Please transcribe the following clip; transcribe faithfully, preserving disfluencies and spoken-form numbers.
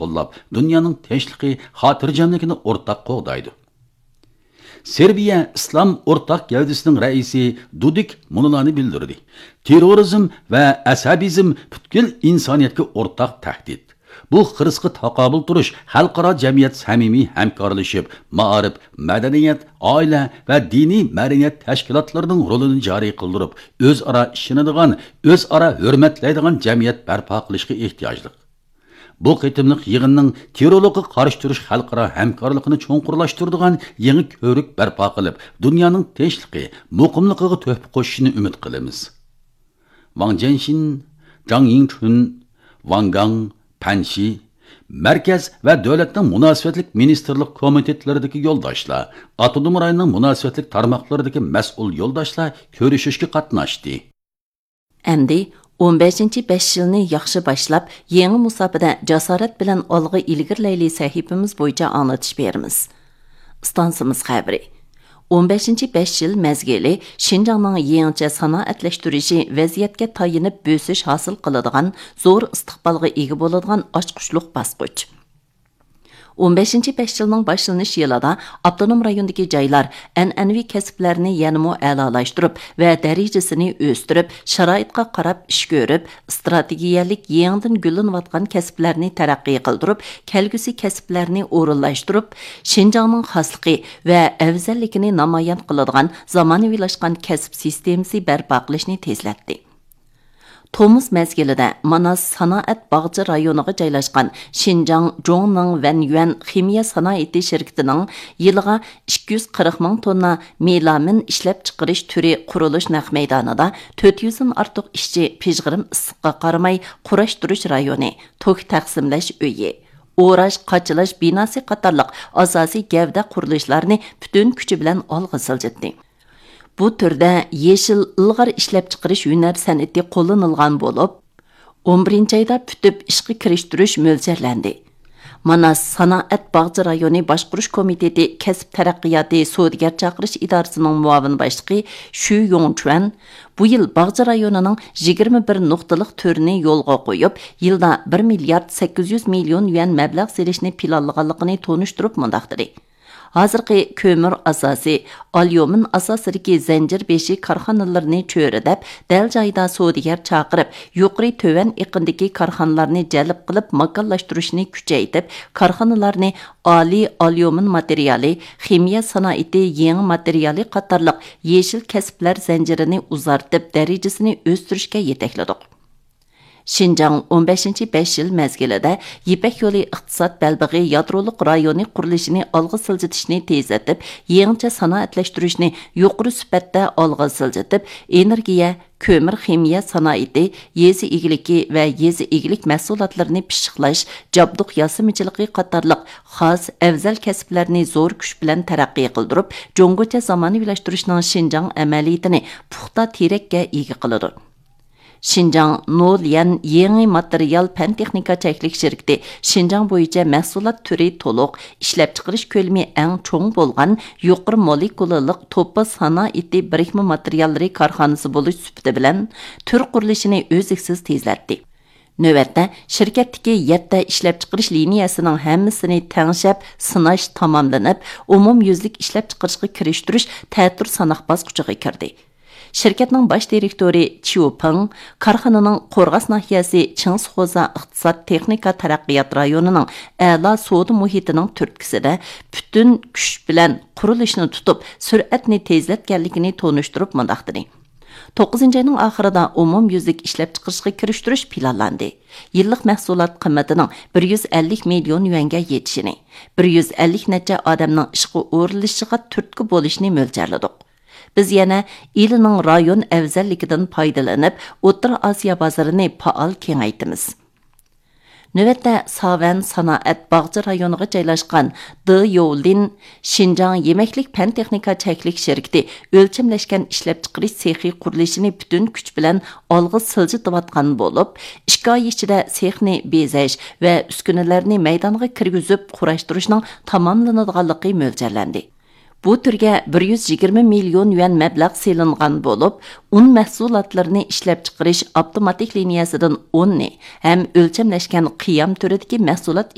قوللاپ، دۇنيانىڭ تىنچلىقى، خاتىرجەملىكىنى ئورتاق قوغدايدۇ. سېربىيە ئىسلام ئورتاق گەۋدىسىنىڭ رەئىسى دۇدىك مۇنۇلارنى بىلدۈردى: تېررورىزم ۋە ئەسەبىزم پۈتكۈل ئىنسانىيەتكە ئورتاق تەھدىت. بۇ خىرىسقا تاقابىل تۇرۇش خەلقئارا جەمئىيەت سەمىمىي ھەمكارلىشىپ، مائارىپ، مەدەنىيەت، ئائىلە ۋە دىنىي مەدەنىيەت تەشكىلاتلىرىنىڭ رولىنى جارى قىلدۇرۇپ، ئۆزئارا ئىشىنىدىغان، ئۆزئارا ھۆرمەتلەيدىغان جەمئىيەت بەرپا قىلىشقا ئېھتىياجلىق. بۇ قېتىملىق يىغىننىڭ تېررورلۇققا قارشى تۇرۇش خەلقئارا ھەمكارلىقىنى چوڭقۇرلاشتۇرىدىغان يېڭى كۆۋرۈك بەرپا قىلىپ، دۇنيانىڭ تىنچلىقى، مۇقىملىقىغا تۆھپە قوشۇشىنى ئۈمىد قىلىمىز. ۋاڭ جيەنشىن، جاڭ يىڭچۈن، ۋاڭ گاڭ، پەن شى، مەركەز ۋە دۆلەتنىڭ مۇناسىۋەتلىك مىنىستىرلىق كومىتېتلىرىدىكى يولداشلار، ئاپتونوم رايوننىڭ مۇناسىۋەتلىك تارماقلىرىدىكى مەسئۇل يولداشلار كۆرۈشۈشكە قاتناشتى. ئەمدى ئون بەشىنچى بەش يىلنى ياخشى باشلاپ، يېڭى مۇساپىدە جاسارەت بىلەن ئالغا ئىلگىرىلەيلى سەھىپىمىز بويىچە ئاڭلىتىش بېرىمىز. ئىستانسىمىز خەۋىرى. ئون بەشىنچى بەش يىل مەزگىلى شىنجاڭنىڭ يېڭىچە سانائەتلەشتۈرۈشى ۋەزىيەتكە تايىنىپ بۆسۈش ھاسىل قىلىدىغان، زور ئىستىقبالغا ئىگە بولىدىغان ئاچقۇچلۇق باسقۇچ. ئون بەشىنچى بەش يىلنىڭ باشلىنىش يىلىدا ئاپتونوم رايوندىكى جايلار ئەنئەنىۋى كەسىپلەرنى يەنىمۇ ئەلالاشتۇرۇپ ۋە دەرىجىسىنى ئۆستۈرۈپ، شارائىتقا قاراپ ئىش كۆرۈپ، ئىستراتېگىيەلىك يېڭىدىن گۈللىنىۋاتقان كەسىپلەرنى تەرەققىي قىلدۇرۇپ، كەلگۈسى كەسىپلەرنى ئورۇنلاشتۇرۇپ، شىنجاڭنىڭ خاسلىقى ۋە ئەۋزەللىكىنى نامايان قىلىدىغان زامانىۋىلاشقان كەسىپ سىستېمىسى بەرپا قىلىشنى تېزلەتتى. تومۇز مەزگىلىدە ماناس سانائەت باغچە رايونىغا جايلاشقان شىنجاڭ جوڭنىڭ ۋەنيۈەن خىمىيە سانائىتى شىركىتىنىڭ يىلىغا ئىككى يۈز قىرىق مىڭ توننا مېلامىن ئىشلەپچىقىرىش تۈرى قۇرۇلۇش نەق مەيدانىدا تۆت يۈزدىن ئارتۇق ئىشچى پىژغىرىم ئىسسىققا قارىماي قۇراشتۇرۇش رايونى، توك تەقسىملەش ئۆيى، ئوراش، قاچىلاش بىناسى قاتارلىق ئاساسىي گەۋدە قۇرۇلۇشلارنى پۈتۈن كۈچى بىلەن ئالغا سىلجىتتى. بۇ تۈردە يېشىل ئىلغار ئىشلەپچىقىرىش ھۈنەر سەنئىتى قوللىنىلغان بولۇپ، ئون بىرىنچى ئايدا پۈتۈپ ئىشقا كىرىشتۈرۈش مۆلچەرلەندى. ماناس سانائەت باغچە رايونى باشقۇرۇش كومىتېتى كەسىپ تەرەققىياتى سودىگەر چاقىرىش ئىدارىسىنىڭ مۇئاۋىن باشلىقى شۈ يوڭچۈەن بۇ يىل باغچە رايونىنىڭ يىگىرمە بىر نۇقتىلىق تۈرىنى يولغا قويۇپ، يىلدا بىر مىليارد سەككىز يۈز مىليون يۈەن مەبلەغ سېلىشنى پىلانلىغانلىقىنى تونۇشتۇرۇپ مۇنداق دېدى: ھازىرقى كۆمۈر ئاساسى، ئاليۇمىن ئاساسىدىكى زەنجىر بېشى كارخانىلىرىنى چۆرىدەپ، دەل جايىدا سودىگەر چاقىرىپ، يۇقىرى تۆۋەن ئېقىندىكى كارخانىلارنى جەلپ قىلىپ، ماكانلاشتۇرۇشنى كۈچەيتىپ، كارخانىلارنى ئالىي ئاليۇمىن ماتېرىيالى، خىمىيە سانائىتى يېڭى ماتېرىيالى قاتارلىق يېشىل كەسىپلەر زەنجىرىنى ئۇزارتىپ، دەرىجىسىنى ئۆستۈرۈشكە يېتەكلىدۇق. شىنجاڭ ئون بەشىنچى بەش يىل مەزگىلىدە يىپەك يولى ئىقتىساد بەلبېغى يادرولۇق رايونى قۇرۇلۇشىنى ئالغا سىلجىتىشنى تېزلىتىپ، يېڭىچە سانائەتلەشتۈرۈشنى يۇقىرى سۈپەتتە ئالغا سىلجىتىپ، ئېنېرگىيە، كۆمۈر خىمىيە سانائىتى، يېزا ئىگىلىكى ۋە يېزا ئىگىلىك مەھسۇلاتلىرىنى پىششىقلاش، جابدۇق ياسىمىچىلىقى قاتارلىق خاس ئەۋزەل كەسىپلەرنى زور كۈچ بىلەن تەرەققىي قىلدۇرۇپ، جۇڭگوچە زامانىۋىلاشتۇرۇشنىڭ شىنجاڭ ئەمەلىيىتىنى پۇختا تىرەككە ئىگە قىلىدۇ. شىنجاڭ نوليەن يېڭى ماتېرىيال پەن تېخنىكا چەكلىك شىركىتى شىنجاڭ بويىچە مەھسۇلات تۈرى تولۇق، ئىشلەپچىقىرىش كۆلىمى ئەڭ چوڭ بولغان يۇقىرى مولېكۇلالىق توپا سانائىتى بىرىكمە ماتېرىياللىرى كارخانىسى بولۇش سۈپىتى بىلەن، تۈر قۇرۇلۇشىنى ئۈزلۈكسىز تېزلەتتى. نۆۋەتتە، شىركەتتىكى يەتتە ئىشلەپچىقىرىش لىنىيەسىنىڭ ھەممىسىنى تەڭشەپ سىناش تاماملىنىپ، ئومۇميۈزلۈك ئىشلەپچىقىرىشقا كىرىشتۈرۈش تەتۈر ساناق باسقۇچىغا كىردى. شىركەتنىڭ باش دىرېكتورى چيۇ پېڭ كارخانىنىڭ قورغاس ناھىيەسى چىڭسخوزا ئىقتىساد تېخنىكا تەرەققىيات رايونىنىڭ ئەلا سودا مۇھىتىنىڭ تۈرتكىسىدە پۈتۈن كۈچ بىلەن قۇرۇلۇشنى تۇتۇپ، سۈرئەتنى تېزلەتكەنلىكىنى تونۇشتۇرۇپ مۇنداق دېدى: توققۇزىنچى ئاينىڭ ئاخىرىدا ئومۇميۈزلۈك ئىشلەپچىقىرىشقا كىرىشتۈرۈش پىلانلاندى. يىللىق مەھسۇلات قىممىتىنىڭ بىر يۈز ئەللىك مىليون يۈەنگە يېتىشىنى، بىر يۈز ئەللىك نەچچە ئادەمنىڭ ئىشقا ئورۇنلىشىشىغا تۈرتكە بولۇشىنى مۆلچەرلىدۇق. بىز يەنە ئىلىنىڭ رايون ئەۋزەللىكىدىن پايدىلىنىپ، ئوتتۇرا ئاسىيا بازىرىنى پائال كېڭەيتىمىز. نۆۋەتتە، ساۋەن سانائەت باغچە رايونىغا جايلاشقان دې يوۋلىن شىنجاڭ يېمەكلىك پەن تېخنىكا چەكلىك شىركىتى ئۆلچەملەشكەن ئىشلەپچىقىرىش سېخى قۇرۇلۇشىنى پۈتۈن كۈچ بىلەن ئالغا سىلجىتىۋاتقان بولۇپ، ئىككى ئاي ئىچىدە سېخنى بېزەش ۋە ئۈسكۈنىلەرنى مەيدانغا كىرگۈزۈپ قۇراشتۇرۇشنىڭ تاماملىنىدىغانلىقى مۆلچەرلەندى. بۇ تۈرگە بىر يۈز يىگىرمە مىليون يۈەن مەبلەغ سېلىنغان بولۇپ، ئۇن مەھسۇلاتلىرىنى ئىشلەپچىقىرىش ئاپتوماتىك لىنىيەسىدىن ئۇننى ھەم ئۆلچەملەشكەن قىيام تۈرىدىكى مەھسۇلات